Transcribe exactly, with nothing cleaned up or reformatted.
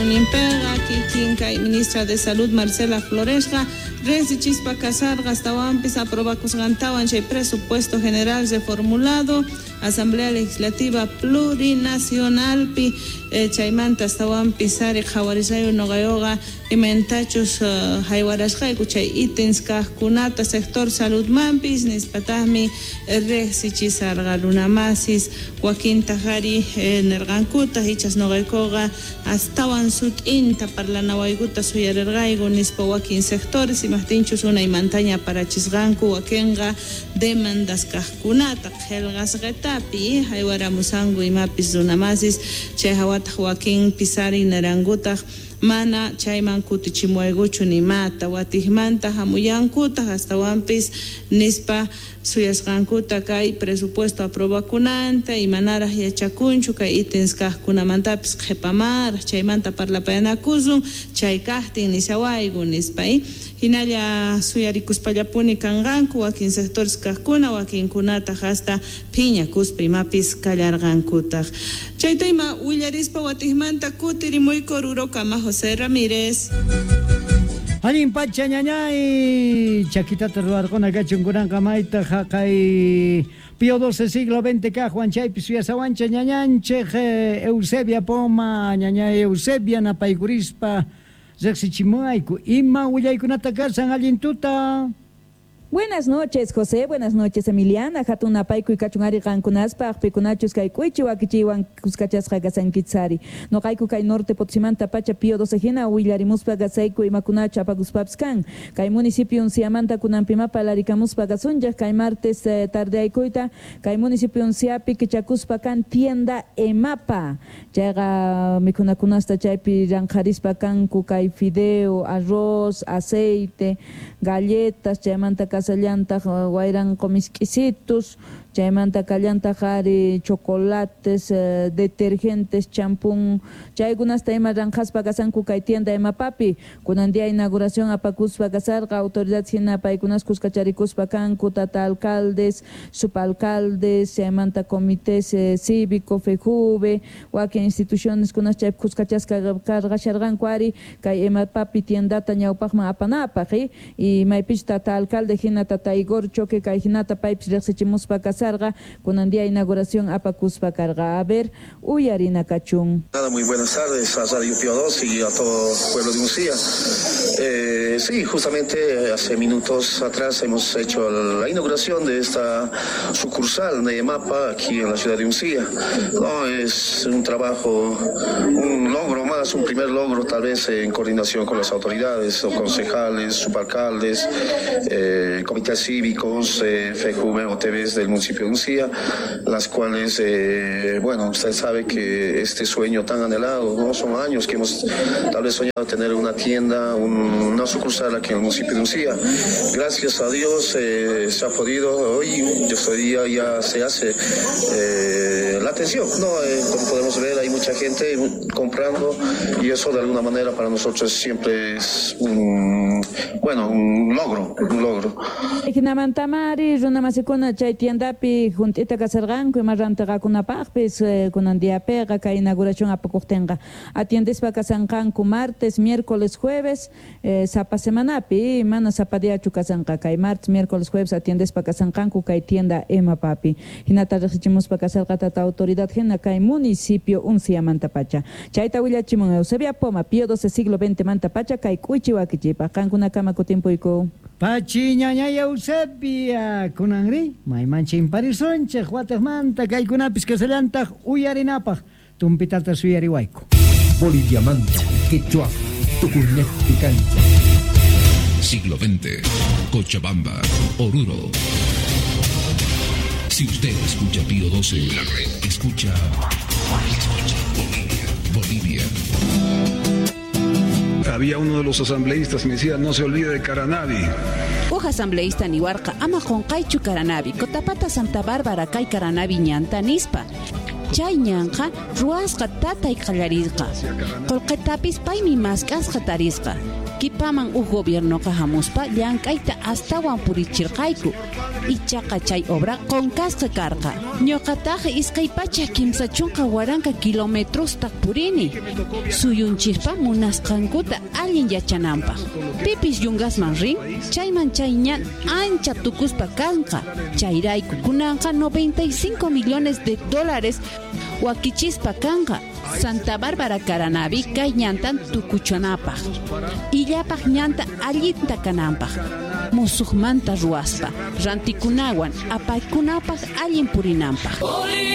Inauguracionninpiqa kikin kay ministra de Salud Marcela Floresqa riqsichispa kasarqa astawanpis aprobakusqantawan chay presupuesto general reformulado Asamblea Legislativa Plurinacionalpi eh, chaymanta astawanpis ari qhawarishayu nuqayuqa imaynatachus uh, haywarasqayku chay ítems kaqkunata sector saludmanpis nispataqmi riqsichisarqa runamasis wakintaq ari eh, nirqankutaq ichas nuqaykuqa astawan sut'inta parlanawaykuta suyarirqayku nispa wakin sectores imaqtinchus unaymantaña parachisqanku wakinqa demandas kaqkunata qillqasqatapi haywaramusanku imapis runamasis chay hawataq wakin pisari nirankutaq mana chayman kutichimuwaykuchu nimata watiqmanta hamuyankutaq astawanpis nispa suyasqankuta kay presupuesto aprobakunanta imanaraq yachakunchu kay ítems kaqkunamantapis qhipamaraq chaymanta parlapayanakusun chay kaqtin nishawayku nispa hinalla suyarikuspallapuni kanqanku wakin sectores kaqkuna wakinkunataq hasta phiñakuspa imapis kallarqankutaq chayta ima willarispa watiqmanta kutirimuyku Orurokama José Ramírez. Allin pacha ñañay chakitata ruwarquna kachun kunanqa mayta haqay Pío doce siglo veinte kaqwan chaypi suyasawancha ñañanchej Eusebia Poma ñañay Eusebia napaykurispa riqsichimuayku ima willaykunata kasan allin tuta. Buenas noches, José. Buenas noches, Emiliana. Hatun napaykuy kachun ari qankunaspaq pikunachus kay k'uychi wakichiywan kuskachasqa kasankitsari. Noqayku kay norte Potosímanta pacha Pío doce hina willarimuspa kasayku imakunachu apakuspapis kan. Kay municipio Unciamanta kunanpima parlarikamuspa kasunchaq kay martes eh, tardeaykuyta kay municipio Unciapi kichakuspa kan tienda Emapa. Chayqa mikhunakunasta chaypi ranqharispa kanku kay fideo, arroz, aceite, galletas, chaymanta kasallantaq wayranqu misk'isitus, chaymanta kallantaq ari chocolates, eh, detergentes, champún, chaykunasta ima ranqhaspa kasanku kay tienda Emapapi. Kunan día inauguración apakuspa kasarqa autoridad hina paykunas kuskacharikuspa kanku tata alcaldes, subalcaldes, chaymanta comités eh, cívico, FEJUVE, wakin instituciones kunas chaypi kuskachasqa karqasharqanku ari kay Emapapi tiendata ñawpaqman apanapaq eh? Y maypich tata alcalde hina tata Igor Choque kay hinata paypis riqsichimuspa kasarqa kunan día inauguración apakuspa karqa. A ver, uyarina kachun. Nada, muy buenas tardes a Radio Pío doce y a todo el pueblo de Uncía. Eh, sí, justamente hace minutos atrás hemos hecho la inauguración de esta sucursal de EMAPA aquí en la ciudad de Uncía. No, es un trabajo, un logro más, un primer logro tal vez en coordinación con las autoridades, los concejales, subalcaldes, eh, comités cívicos, eh, F J V o T Vs del municipio de Uncía, las cuales, eh, bueno, usted sabe que este sueño tan anhelado, ¿no? Son años que hemos tal vez soñado tener una tienda, un, una sucursal aquí en el municipio de Uncía. Gracias a Dios eh, se ha podido, hoy, hoy día ya se hace eh, la atención, ¿no? Eh, como podemos ver, hay mucha gente comprando y eso de alguna manera para nosotros siempre es un, bueno, un logro, un logro. Hinamantamari runamasikuna chay tiendapi junt'ita kasarqanku ima rantiqakunapaqpis kunan diapiqa kay inauguración apakuqtinqa atiendespa kasanqanku martes, miércoles, jueves eh, sapa semanapi mana sapa diachu kasanqa kay martes, miércoles, jueves atiendespa kasanqanku kay tienda Emapapi. Hinata riqsichimuspa kasarqa tata autoridad hina kay municipio Unciamanta pacha. Chayta willachimun Eusebia Poma, Pío doce siglo veinte manta pacha kay k'uychi wakichipaq qankunakama kutimpuyku. Pachi ñañay Eusebia kunanri mayman chimparisunchej watejmanta kaykunapis kasallantaq uyarinapaq tumpitata suyariwayku. Boliviamanta, Quechua, Tucunejpi cancha. Siglo veinte, Cochabamba, Oruro. Si usted escucha Pío doce, la red escucha, escucha Bolivia, Bolivia. Había uno de los asambleístas que me decía, no se olvide de Caranavi. Uj asambleísta niwarqa ama qunqaychu Caranavi, Cotapata Santa Bárbara kay Caranavi ñanta nispa. Chay ñanqa ruwasqa tatay qallarisqa. Qullqitapis paymi mask'asqa tarisqa. Kipaman uj gobiernoqa hamuspa llank'ayta astawan purichirqayku. Ichaqa chay obra qonkasqa karqa. Ñuqataq iskay pachak kimsa chunka waranqa kilometrosta purini. Suyunchikpa munasqankuta allin yachananpaq. Pipis yungasman rin, chayman chay ñan ancha tukuspa kanqa. Chayrayku kunanqa noventa y cinco millones de dólares wakichispa kanqa. Santa Bárbara Caranavi kay ñantan tukuchanapaq. Illapaq ñanta allinta kananpaq. Musuqmanta ruwaspa, rantikunawan apaykunapaq allin purinanpaq.